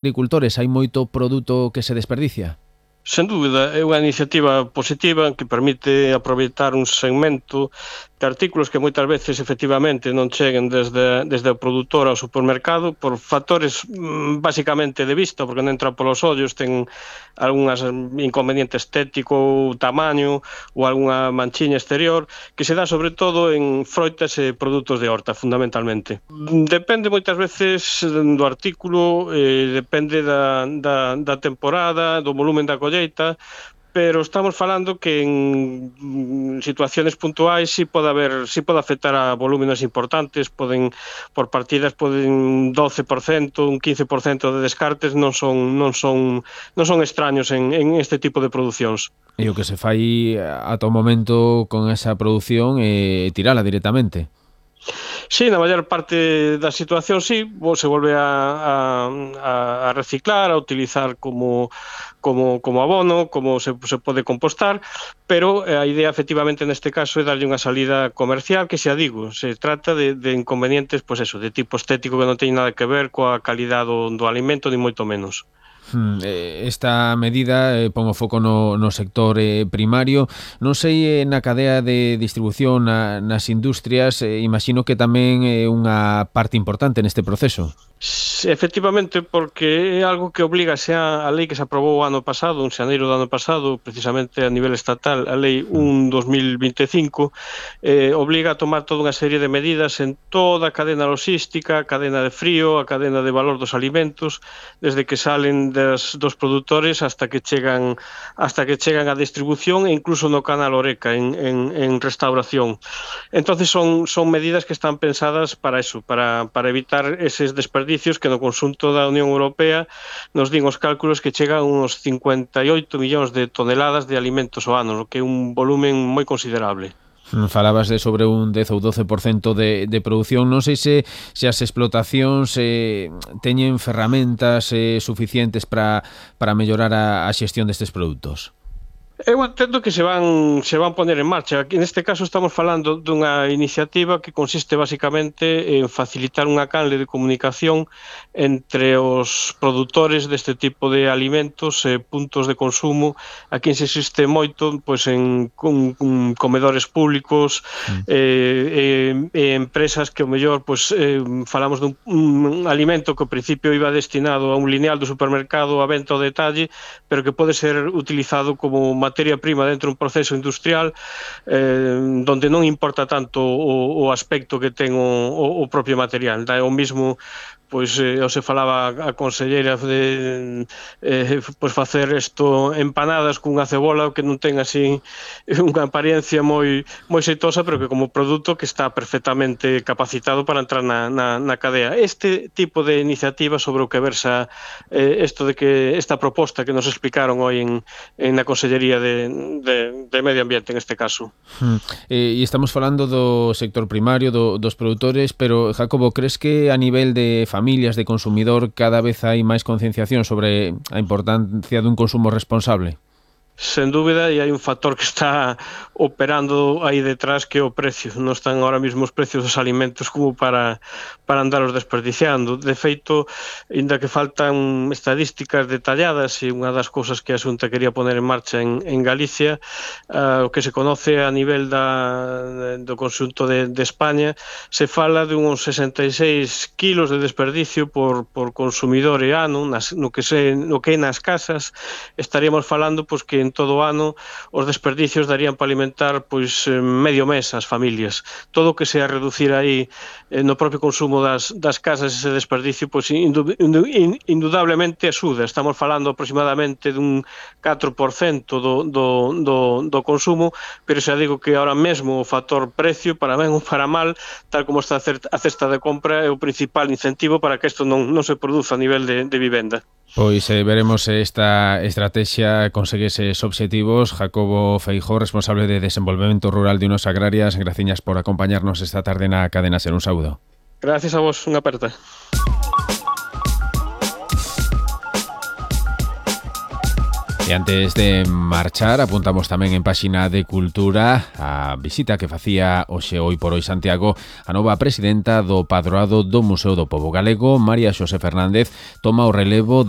agricultores hai moito produto que se desperdicia? Sen dúbida, é unha iniciativa positiva que permite aproveitar un segmento de artículos que moitas veces efectivamente non cheguen desde o produtor ao supermercado por factores basicamente de vista, porque non entran polos ollos, ten algúns inconveniente estético ou tamaño ou algunha manchiña exterior que se dá sobre todo en froitas e produtos de horta, fundamentalmente. Depende moitas veces do artículo, depende da temporada, do volumen da colleita, pero estamos falando que en situaciones puntuais si pode afectar a volúmenes importantes, por partidas poden 12%, un 15% de descartes, non son extraños en este tipo de producións. E o que se fai ata o momento con esa produción é tirala directamente. Sí, na maior parte das situacións sí, se volve a reciclar, a utilizar como abono, como se pode compostar, pero a idea efectivamente neste caso é darlle unha salida comercial que, xa digo, se trata de inconvenientes, pois eso, de tipo estético que non teñen nada que ver coa calidad do alimento, ni moito menos. Esta medida pon o foco no sector primario. Non sei na cadea de distribución nas industrias, imagino que tamén é unha parte importante neste proceso. Efectivamente, porque é algo que obliga xa a lei que se aprobou o ano pasado, en xaneiro do ano pasado, precisamente a nivel estatal, a lei 1/2025, obliga a tomar toda unha serie de medidas en toda a cadena logística, a cadena de frío, a cadena de valor dos alimentos, desde que salen dos produtores hasta que chegan á distribución e incluso no canal Horeca en restauración. Entonces son medidas que están pensadas para eso, para evitar eses desperdicios que no conxunto da Unión Europea nos din os cálculos que chegan uns 58 millóns de toneladas de alimentos ao ano, que é un volumen moi considerable. Falabas de sobre un 10 ou 12% de produción. Non sei se as explotacións teñen ferramentas suficientes para mellorar a xestión destes produtos. Eu entendo que se van poner en marcha. Aquí, neste caso, estamos falando dunha iniciativa que consiste basicamente en facilitar unha canle de comunicación entre os produtores deste tipo de alimentos e puntos de consumo. Aquí se existe moito pois en comedores públicos e empresas que ao mellor pois falamos dun alimento que ao principio iba destinado a un lineal do supermercado a venta ao detalle, pero que pode ser utilizado como materia prima dentro dun proceso industrial donde non importa tanto o aspecto que ten o propio material. É o mismo, pois se falaba a conselleira de pois facer isto empanadas cunha cebola que non ten así unha apariencia moi xeitosa, pero que como produto que está perfectamente capacitado para entrar na cadea. Este tipo de iniciativa sobre o que versa isto de que esta proposta que nos explicaron hoy na Consellería de Medio Ambiente, en este caso. E estamos falando do sector primario, dos produtores, pero Jacobo, crees que a nivel de familias, de consumidor, cada vez hai máis concienciación sobre a importancia dun consumo responsable? Sen dúbida, e hai un factor que está operando aí detrás, que é o precio. Non están ahora mesmo os precios dos alimentos como para andalos desperdiciando. De feito, inda que faltan estadísticas detalladas, e unha das cousas que a Xunta quería poner en marcha en Galicia, o que se conoce a nivel do conxunto de España, se fala de uns 66 kilos de desperdicio por consumidor e ano, no que é nas casas. Estaríamos falando pois que en todo o ano os desperdicios darían para alimentar pois medio mes as familias. Todo o que sea reducir aí no propio consumo das casas ese desperdicio, pois indudablemente axuda. Estamos falando aproximadamente dun 4% do consumo, pero xa digo que ahora mesmo o factor precio, para ben ou para mal, tal como está a cesta de compra, é o principal incentivo para que isto non se produza a nivel de vivenda. Pois veremos se esta estrategia consegue eses obxectivos. Jacobo Feijóo, responsable de Desenvolvemento Rural de Unos Agrarias, graciñas por acompañarnos esta tarde na Cadena Ser. Un saúdo. Gracias a vos, unha aperta. E antes de marchar, apuntamos tamén en páxina de Cultura a visita que facía hoxe por hoy Santiago a nova presidenta do Padroado do Museo do Pobo Galego, María Xosé Fernández, toma o relevo de